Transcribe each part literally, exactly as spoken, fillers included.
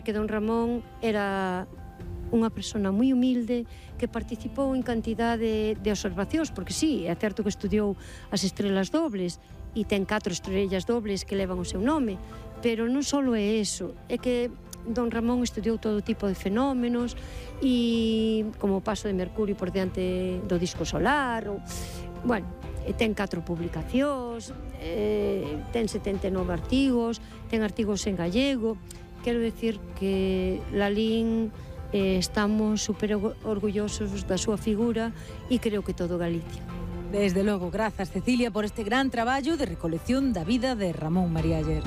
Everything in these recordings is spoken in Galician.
que don Ramón era unha persona moi humilde que participou en cantidade de observacións, porque sí, é certo que estudiou as estrelas dobles e ten catro estrellas dobles que levan o seu nome, pero non só é eso, é que don Ramón estudiou todo tipo de fenómenos e como o paso de Mercurio por diante do disco solar, ou, bueno, ten catro publicacións, eh, ten setenta e nove artigos, ten artigos en gallego. Quero decir que Lalín eh, estamos super orgullosos da súa figura e creo que todo Galicia. Desde logo, grazas Cecilia por este gran traballo de recolección da vida de Ramón María Aller.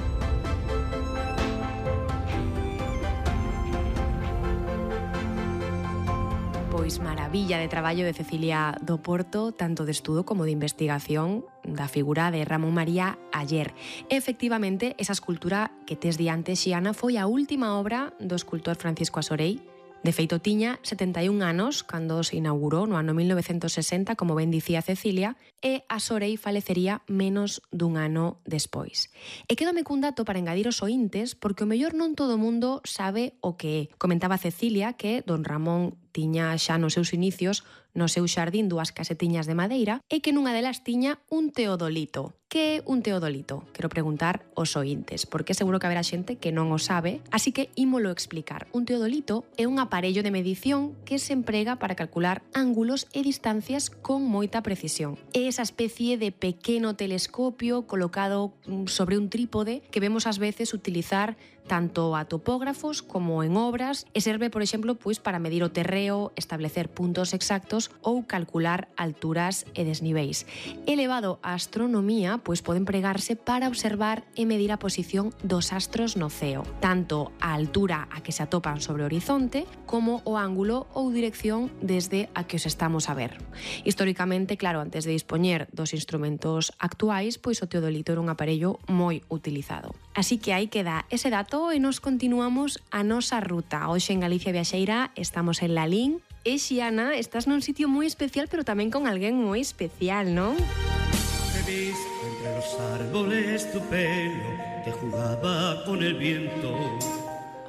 Pois maravilla de traballo de Cecilia do Porto, tanto de estudo como de investigación da figura de Ramón María Aller. Efectivamente, esa escultura que tes diante, Xiana, foi a última obra do escultor Francisco Asorei. De feito, tiña setenta e un anos cando se inaugurou no ano mil novecentos sesenta, como ben dicía Cecilia, e Asorei falecería menos dun ano despois. E quédome cun dato para engadir os ointes, porque o mellor non todo o mundo sabe o que é. Comentaba Cecilia que don Ramón tiña xa nos seus inicios no seu xardín dúas casetiñas de madeira e que nunha delas tiña un teodolito. Que é un teodolito? Quero preguntar aos ointes, porque seguro que haberá xente que non o sabe, así que ímolo explicar. Un teodolito é un aparello de medición que se emprega para calcular ángulos e distancias con moita precisión. É esa especie de pequeno telescopio colocado sobre un trípode que vemos ás veces utilizar tanto a topógrafos como en obras e serve, por exemplo, pois para medir o terreo, establecer puntos exactos ou calcular alturas e desniveis. Elevado á astronomía, pois pode empregarse para observar e medir a posición dos astros no ceo, tanto a altura a que se atopan sobre o horizonte como o ángulo ou dirección desde a que os estamos a ver. Históricamente, claro, antes de dispoñer dos instrumentos actuais, pois o teodolito era un aparello moi utilizado. Así que aí queda ese dato e nos continuamos a nosa ruta. Hoxe en Galicia Viaxeira estamos en Lalín. E Xiana, estás nun sitio moi especial, pero tamén con alguén moi especial, non? He visto entre los árboles tu pelo que jugaba con el viento.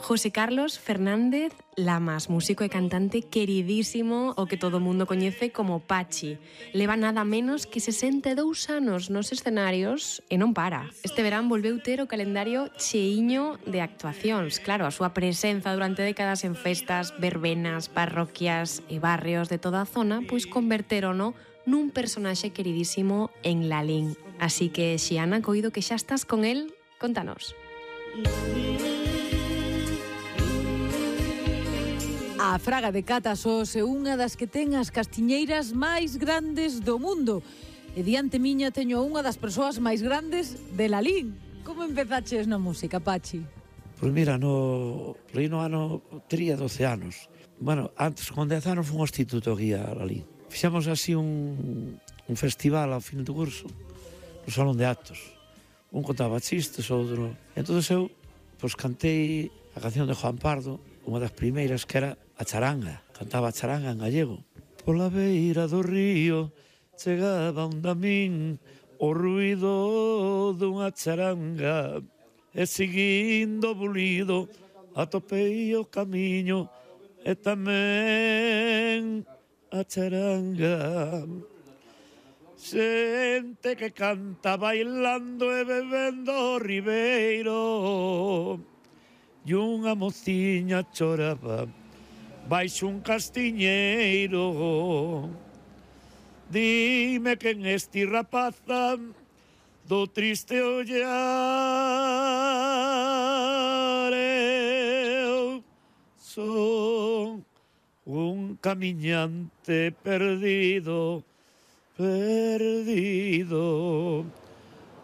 José Carlos Fernández Lamas, músico e cantante queridísimo, o que todo o mundo coñece como Pachi. Leva nada menos que sesenta e dous anos nos escenarios e non para. Este verán volveu ter o calendario cheiño de actuacións. Claro, a súa presenza durante décadas en festas, verbenas, parroquias e barrios de toda a zona, pois converterono nun personaxe queridísimo en Lalín. Así que, Xiana, coido que xa estás con el, contanos. A Fraga de Catasos é unha das que ten as castiñeiras máis grandes do mundo. E diante miña teño unha das persoas máis grandes de Lalín. Como empezaches na música, Pachi? Pois mira, no, no ano tería doce anos. Bueno, antes, con dez anos, fui ao instituto aquí a Lalín. Fixemos así un, un festival ao fin do curso, no salón de actos. Un contaba chistes, outro... Entón eu, pois, cantei a canción de Juan Pardo, unha das primeiras, que era a charanga. Cantaba a charanga en gallego. Pola beira do río chegaba un damín o ruido dunha charanga e seguindo bulido atopei o camiño e tamén a charanga. Xente que canta bailando e bebendo o ribeiro e unha mociña choraba baixo un castiñeiro. Dime quen esti rapaza do triste ollar. Eu son un camiñante perdido, perdido,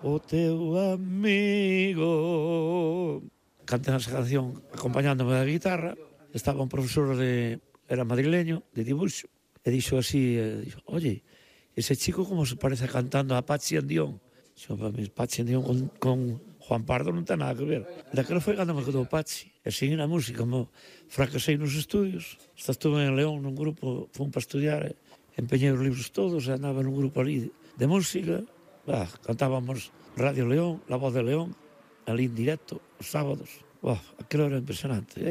o teu amigo. Canté esa canción acompañándome da guitarra. Estaba un profesor de... era madrileño, de dibuixo, e dixo así, e dixo, oye, ese chico como se parece cantando a Pachi Andión. Dixo, Pachi Andión con, con Juan Pardo non ten nada que ver. Daquela foi cando me quedou Pachi. E seguí na música, como fracasei nos estudios. Hasta estuve en León nun grupo, fui para estudiar, empeñei os libros todos, e andaba nun grupo ali de música. Bah, cantábamos Radio León, La Voz de León, ali en directo, os sábados. Bah, aquilo era impresionante. Eh?